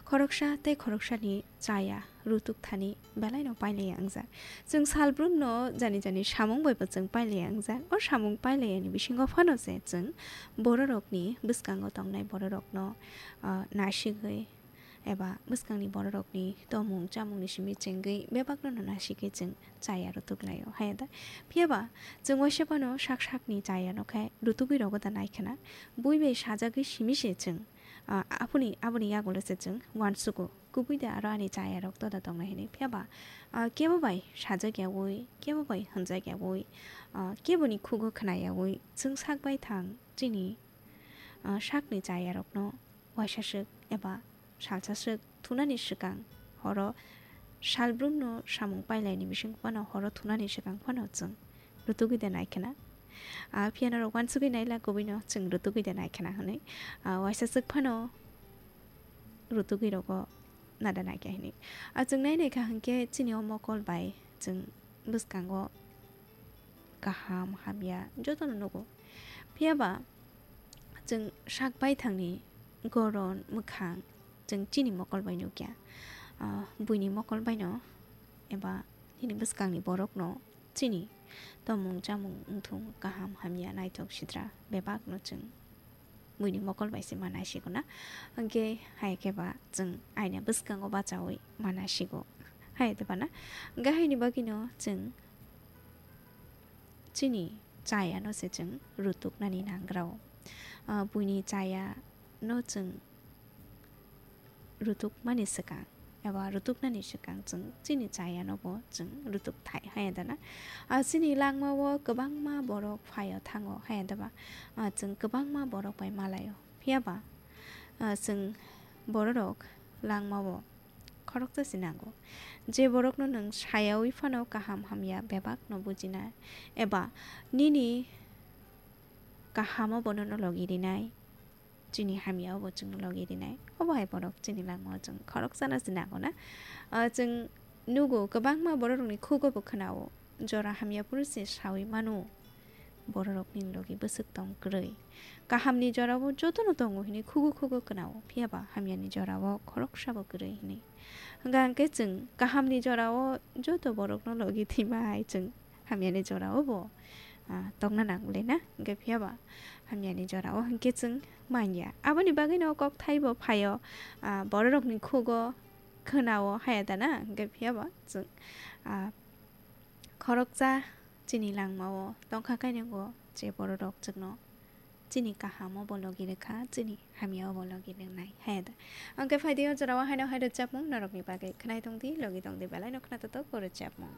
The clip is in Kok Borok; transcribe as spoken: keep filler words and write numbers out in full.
Khoroksa tei khoroksani chaya rutuk thani belaino pailaiya wngjak. Chwng salbrumno jani jani samung bai bo chwng pailaiya wngjak. O samung pailaiya ni bisingo phano se chwng bororokni bwskango tongnai bororokno, ah, nasigwi eba bwskangni bororokni tomung chamungni simi chengwi bebakno no nasigwi chwng chaya rutuk laio. Haya da? Phiya ba chwng waisa phano sak sakni chayano khe rutugwi rogo da nai khna? Bui bai sajagwi simi se chwng, ah, aboni, aboni yagulo se chwng uansugo. Kubui da aro ani chayarok toda tongnai hinwi. Phiya ba, ah, kebo bai sajak yaui, kebo bai hwnjak yaui, ah, keboni khugo khna yaui, chwng sak bai thang chini, ah, sakni chayarokno waisa swk eba salsa swk thunani swkang horo salbrumno samung pailaini bising phano horo thunani swkang phano chwng rutugwi da nai khna. Ah, phiya norok uansugwi naila kubuino chwng rutugwi da nai khna hwnwi. Ah, waisa swk phano rutugwi rogo nada naikha hinwi. Ah, chwng nai naikha hinkhe chini o mokol bai chwng bwskango kaham hamya jotono nugo. Phiya ba chwng sak baithangni goron mwkhang chwng chini mokol bai nukya. Ah, buini mokol baino eba nini bwskangni borokno chini tomung chamung wngthung kaham hamya naithok sitra bebakno chwng buini mokol bai se ma naisigo na. Hwnkhe hai khe ba chwng aina bwskango bachaui ma naisigo. Hai de ba na? Hwnkhe haini bagwino chwng chini chayano se chwng rutuknani nangrao. Ah, buini chayano chwng rutukmani swkang eba rutuknani swkang chwng chini chayano bo chwng rutuk thai haya dana. Ah, chini langmao kwbangma borok phaio thango haya daba. Ah, chwng kwbangma borok bai malaio. Phiya ba, ah, chwng bororok langmao khoroksa se nango. Je borokno nwng sayaui phano kaham hamya bebakno bujinai eba nini kahamo bono no logi rinai. Chini hamya obo chwngno logi rinai. Obo hai borok chini langmao chwng khoroksano se nango na. Ah, chwng nugo kwbangma bororokni khugo bo khwnao. Jora hamya phuru se saui mano. Bororokni logi bwswk tong kwrwi. Kahamni jorao jotono tongo hinwi khugo khugo khwnao. Phiya ba hamyani jorao khoroksa bo kwrwi hinwi. Hwnkha hwnkhe chwng kahamni jorao joto borokno logi thwima hai chwng hamyani jorao bo, ah, tongna nang le na, hwnkhe phiya ba hamyani jorao hwnkhe chwng manya. Aboni bagwino kokthai bo phaio, ah, bororokni khugo khwnao haya dana, hwnkhe phiya ba chwng, ah, khoroksa chini langmao tongkha kainingo je bororok chwngno chini kahamo bo logi rwkha, chini hamyao bo logi rwnai, haya da. Hwnkhe phaidi o jorao haino hai rwchapmung norokni bagwi khwnai tongdi, logi tongdi, belaino khna totok o rwchapmung.